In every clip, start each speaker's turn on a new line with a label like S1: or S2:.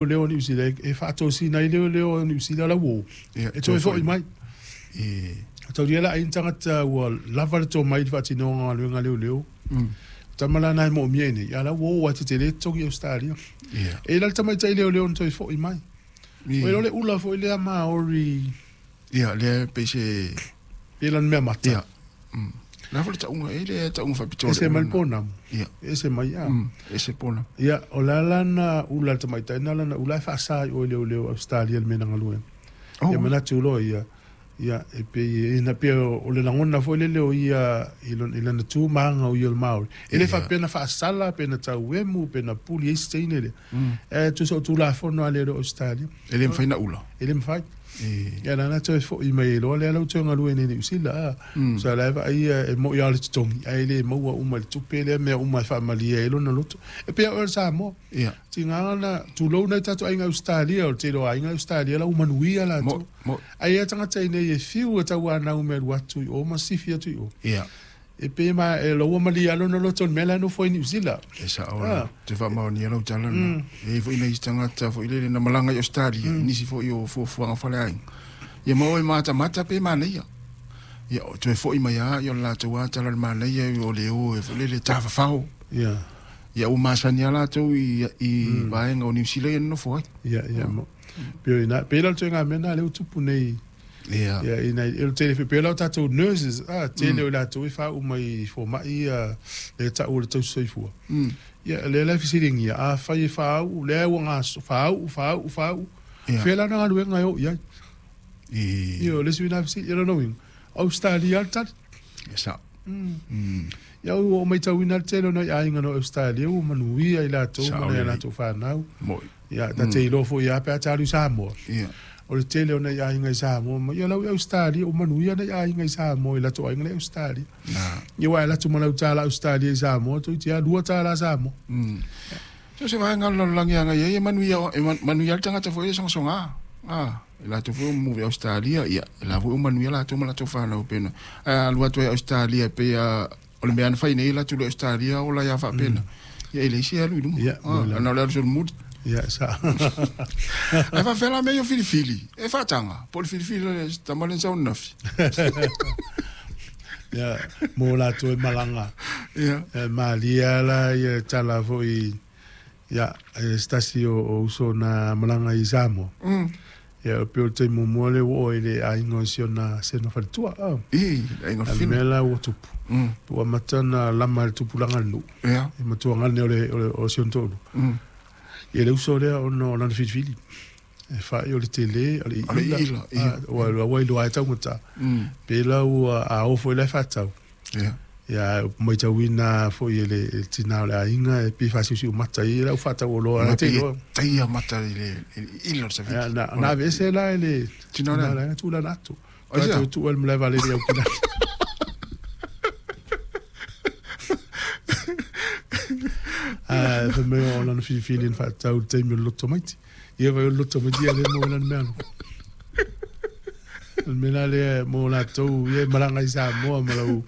S1: Leoleo o Niu Sila e faatosina ai leoleo o Niu Sila la ua e toe fo'i mai. Taulia la ai ni tagata ua lava le tomai i le faatinoga o galuega a leoleo. Tama la na e moomia i nei, a la ua o ae tetele totogi i Ausetalia. E i ai la le tamaitai leoleo na toe fo'i mai. Oi o le ula foi lea Maori.
S2: Ia, lea pei se
S1: Pei lana mea mata.
S2: Ia. La foi le tauga, e le tauga faapitoa.
S1: Ese mai le pounamu.
S2: Ia.
S1: Ese mai, a.
S2: Ese pounamu.
S1: Ia, o le a lana ula a le tamaitai na lana ula e faasa i o i leoleo Ausetalia i le mea na galuega. Ia manatu loa ia, ia, e pei, e na pei o le lagona foi lele o ia i lana tu ma aga o ia o le Maori. E le faapea na faasala, pe na tauemu, pe na puli ai se teine lea. E tusa o Tulafono a leoleo Ausetalia.
S2: E le mafai na ula.
S1: E le mafai. Ia la na toe fo'i mai ai loa lea la ua toe galue nei i Niu Sila a. Sa la e vaai ia e mo'i lava o le totogi ae le maua uma i le tupe lea mea uma e faamalie ai lona loto. E pei o oe o le Samoa. Tiga na tulou nai tatou aiga Ausetalia, o le tele o aiga Ausetalia la ua manuia latou. Ae i ai tagata i inei e fiu e tauanau me alu atu i o ma sifi atu i o. E pei ma e ua malie lava lona loto i le mea la e nofo ai i Niu Sila.
S2: E sao la, ou te faamaonia lau tala lena. E i ai foi nai tagata foi lele na malaga i Ausetalia, nisi foi o fuafuaga faleaiga. Ia ma o e matamata pe manaia. Ia o toe foi mai lava, ia o le latou lava tala o le manaia o le o e foi lele tafafao. Ia ua masani lava latou i vaega o Niu Sila ia na nofo ai.
S1: Ia, ia. Pei o ina, pei la o le ituaiga mea lena lea ua tupu nei. Ia, ina, e le tele, pei la o tatou nurses, a, tele o i latou e faauu mai i fomai ia, lea e tau o le tausi soifua. Ia, lea la e fesiligia, afai e faauu, lea ua gaso, faauu, faauu, faauu, fea la ana galuega e o i ai? Ia, o le isi na fesili, ia lona uiga, Ausetalia lava le tali.
S2: E sao.
S1: Ia, ua ou matauina le tele o nai aiga no Ausetalia ua manuia i latou ma nai a latou fanau. Ia, ta te iloa foi lava pe a ta alu i Samoa. O le tele o nai aiga i Samoa ma ia lau i Ausetalia, ua manuia nai aiga i Samoa i latou aiga la i Ausetalia. Ia, aua e alu atu ma lau tala Ausetalia i Samoa, toeitiiti lava $2 Samoa.
S2: So se vaega o le lalolagi e agai ai e manuia, e manuia le tagata foi e sogasoga. E latou foi o move i Ausetalia, ia, e la foi o manuia latou ma latou fanau pena. Ae a alu atu ai i Ausetalia e pei a o le mea na fai nei latou i Ausetalia ola ia faapena. Ia e leai se alu i luma. Na o le alu solomuli.
S1: Ia, sa.
S2: Ae faafefea la mea ia o filifili? E faataga, po o le filifili o le tama lea na sau ananafi.
S1: Ia, mo latou e malaga. Ia. Malie lava la ia tala foi, ia, e se tasi o uso na malaga i Samoa. Ia, pei o le taimi muamua lea ua oo ai i le aiga o si ona faletua.
S2: I, le aiga o le
S1: Fina. Mea la ua tupu. Ua amata ona lama e le tupulaga le nuu. E matua gane o si ona toalua. Ia le uso lea ona o lana filifili. E fai o le tele, o le iila. Ua ua iloa ai taugata. Pe la ua a oo foi la e faatau. Ia, matauina foi e le tina o le aiga e pei faasiusiu mata i lau faatau oloa.
S2: Ma pei e taia mata i le ila o le savili.
S1: Na aveese la e le tina o le aiga tūlana atu. Ai tuu ai le malae vaalele i Aukilani. Fai mai o lana filifili na faatau i le taimi o le loto maiti. Ia vai o le loto maiti ia le maua i lana mea alofa. O le mea la lea mo latou ia e malaga i Samoa ma lau.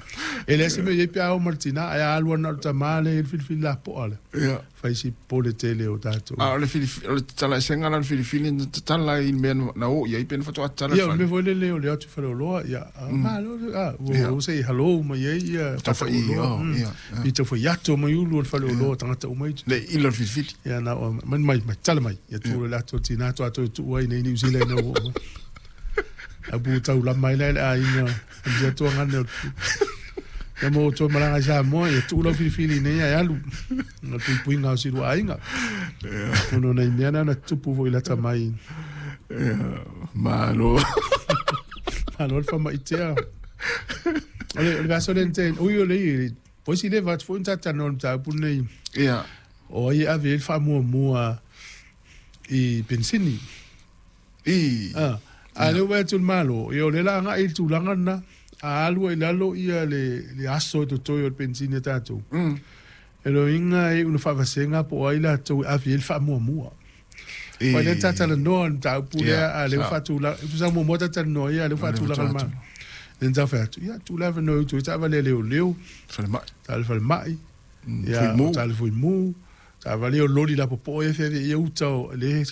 S1: E leai se mea o i ai pe a o ma le tina, ae a alu ana o le tama lea e i ai le filifili lapoa lea. Fai si popole tele o tatou.
S2: A o le filifili, o le tatala eseina la o le filifili na tatala i le mea na o i ai pe na faatoa tatala i
S1: le fale. Ia, o le mea foi lele o le o atu i faleoloa, ia, malo, a, ua se i hello mai ai ia
S2: faatauoloa.
S1: I tau fai ato mai ulu o le faleoloa tagata uma i.
S2: Le ila o le filifili.
S1: Ia, na o, mai, mai, mai, tala mai. Ia tu le ato tina atu ato e tuu ai nei Niu Sila ina ua uma. A pu tau lama ai la i le aiga, ia tua ngane o Ia mo toe malaga i Samoa, ia tuu lau filifili nei ae alu. Na puipuiga o si lua aiga. Ono nai mea na na tupu foi lata mai.
S2: Malo.
S1: Malo le faamaitea. O le vaiaso lea na tea, ui o le i, voisi le atu foi na talanoa i le mataupu lenei. O ai e ave i ai le faamuamua i penisini. A lea ua vaai atu le Malo, ia o lea o le a agai i le tulaga lena, a alu ai i lalo ia le aso e totoe o le penisini a tatou, e loiga e iu ina faavasega po o ai latou e ave i ai le faamuamua. Aua lea ta talanoa i le mataupu lea, a o lea ua faatulaga, e tusa muamua ta talanoa ia, a o lea ua faatulaga le Malo. Lea na tau fai atu, ia tuu le avanoa i utu ai taavale a leoleo, taavale falemai, ia taavale fuimu, taavale o loli lapopoa ia e feaveai ai uta o le